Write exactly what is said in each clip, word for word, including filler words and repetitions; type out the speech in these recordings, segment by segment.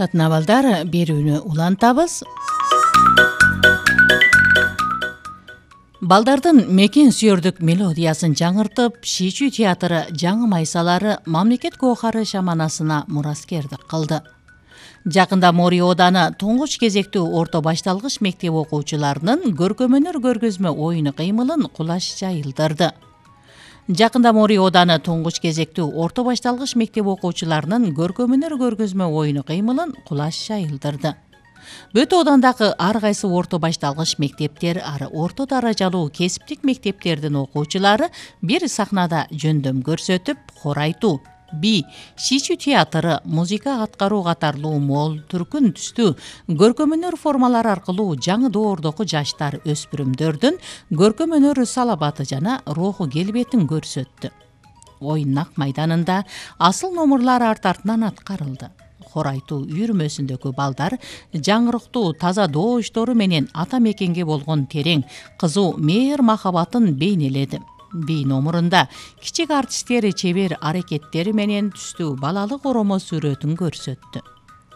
Татнабалдар берүүнү улантабыз. Балдардын мекен сүйөрдүк мелодиясын жаңыртып, Шичүү театры жаңы майсалары мамлекет гоохары шаманасына мураскердик кылды. Жакында Мори ооданы туңгуч кезектүү орто башталгыч мектеп окуучуларынын көркөм-өнөр көргөзмө оюну кыймылын кулаш жайылдырды. Жакында Мори ооданы туңгуч кезектүү орто башталгыч мектеп окуучуларынын көркөм-өнөр көргөзмө оюну кыймылын кулаш жайылдырды. Бүт оодандагы ар кайсы орто башталгыч мектептер, ары орто даражалуу кесиптик мектептердин окуучулары бир сахнада жөндөм көрсөтүп, хор айтуу, би, Шичүү театры, музыка аткаруу катарлуу мол, түркүн түстүү көркөм-өнөр формалары аркылуу жаңы доордогу жаштар, өспүрүмдөрдүн көркөм-өнөр салабаты жана руху келбетин көрсөттү. Оюн Ак майданында асыл номурлар арт артынан аткарылды. Хор айтуу үйүрмөсүндөгү балдар жаңырыктуу таза добуштору менен ата мекенге болгон терең, кызуу мээр махабатын бейнеледи. Би номурунда кичик артисттери чебер аракеттери менен түстүү балалык оромо сүрөтүн көрсөттү.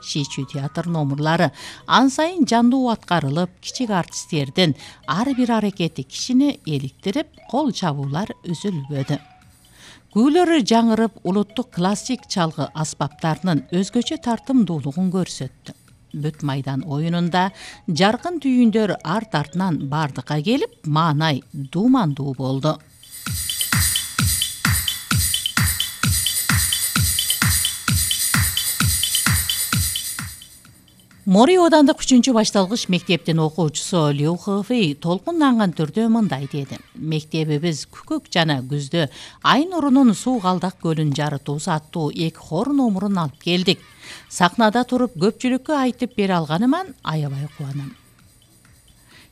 Шичүү театр номурлары ан сайын жандуу аткарылып, кичик артисттердин ар бир аракети кишини эликтирип, кол чабуулар үзүлбөдү. Күүлөрү жаңырып, улуттук классик чалгы аспаптарынын өзгөчө тартымдуулугун көрсөттү. Бүт майдан оюнунда жаркын түйүндөр арт артынан бардыкка келип, маанай дуумандуу болду. Мори оодандык үчүнчү башталгыч мектептин окуучусу Лю Хэфэй толкунданган түрдө мындай деди. Мектебибиз күкүк жана күздө ай нурунун суу калдак көлүн жарытуу аттуу эки хор номурун алып келдик. Сахнада туруп көпчүлүккө айтып бере алганыман аябай кубанам.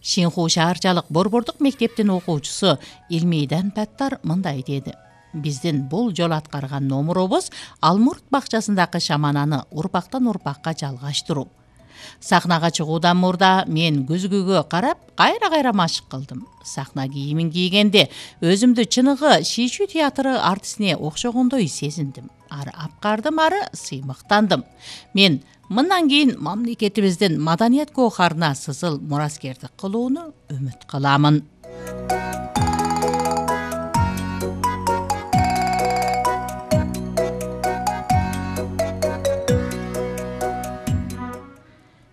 Шинху шаарчалык борбордук мектептин окуучусу Илмейдан Паттар мындай деди. Биздин бул жолу аткарган номурубуз Алмурт бакчасындагы шамананы урпактан урпакка жалгаштыруу. Сахнага чыгуудан мурда мен күзгүгө карап, кайра-кайра машык кылдым. Сахна кийимин кийгенде өзүмдү чыныгы Шичүү театры артистине окшогондой сезиндим. Ары апкардым, ары сыймыктандым. Мен мындан кийин мамлекетибиздин маданият гоохарына сызыл мураскердик кылууну үмүт кыламын.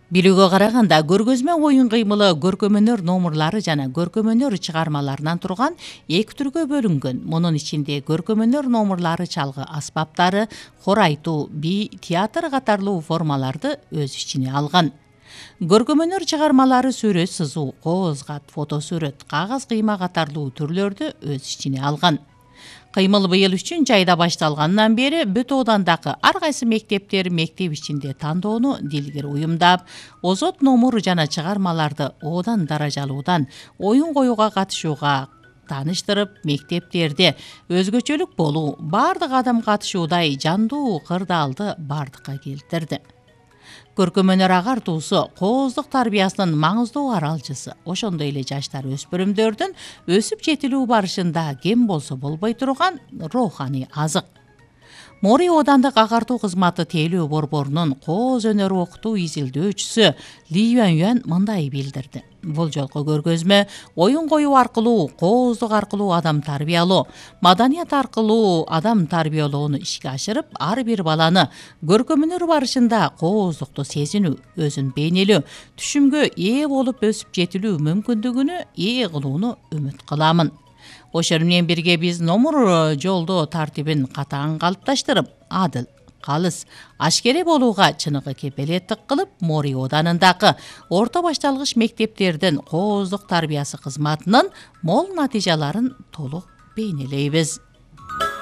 Билүүгө караганда көргөзмө оюн кыймылы көркөм-өнөр номурлары жана көркөм-өнөр чыгармаларынан турган эки түргө бөлүнгөн. Мунун ичинде көркөм-өнөр номурлары чалгы аспаптары, хор айтуу, би, театр катарлуу формаларды өз ичине алган. Көркөм-өнөр чыгармалары сүрөт сызуу, кооз кат, фотосүрөт, кагаз кыйма катарлуу түрлөрдү өз ичине алган. Кыймыл быйыл үчүнчү айда башталгандан бери бүт оодандагы ар кайсы мектептер мектеп ичинде тандоону дилгир уюмдап, озот номур жана чыгармаларды оодан даражалуудан оюн коюуга катышууга тааныштырып, мектептерде өзгөчөлүк болуу, бардык адам катышуудай жандуу кырдаалды бардыкка келтирди. Көркөм-өнөр агартуусу кооздук тарбиясынын маңыздуу аралчысы. Ошондой эле жаштар, өспүрүмдөрдүн өсүп жетилүү барышында кем болсо болбой турган роуханий азык. Мори оодандык агартуу кызматы тейлөө борборунун кооз өнөрү окутуу изилдөөчүсү Ли Юан мындай билдирди. Бул жолку көргөзмө оюн коюу аркылуу, кооздук аркылуу адам тарбиялоо, маданият аркылуу адам тарбиялоону ишке ашырып, ар бир баланы көркөм-өнөр барышында кооздукту сезинүү, өзүн бейнелөө, түшүмгө ээ болуп өсүп жетилүү мүмкүндүгүнө ээ кылууну үмүт кыламын. Ошол менен бирге биз номур жолдоо тартибин катаң калыпташтырып, адыл, калыс, ашкере болууга чыныгы кепелеттик кылып, Мори оодарындагы орто башталгыч мектептердин кооздук тарбиясы кызматынын мол натыйжаларын толук бейнелейбиз.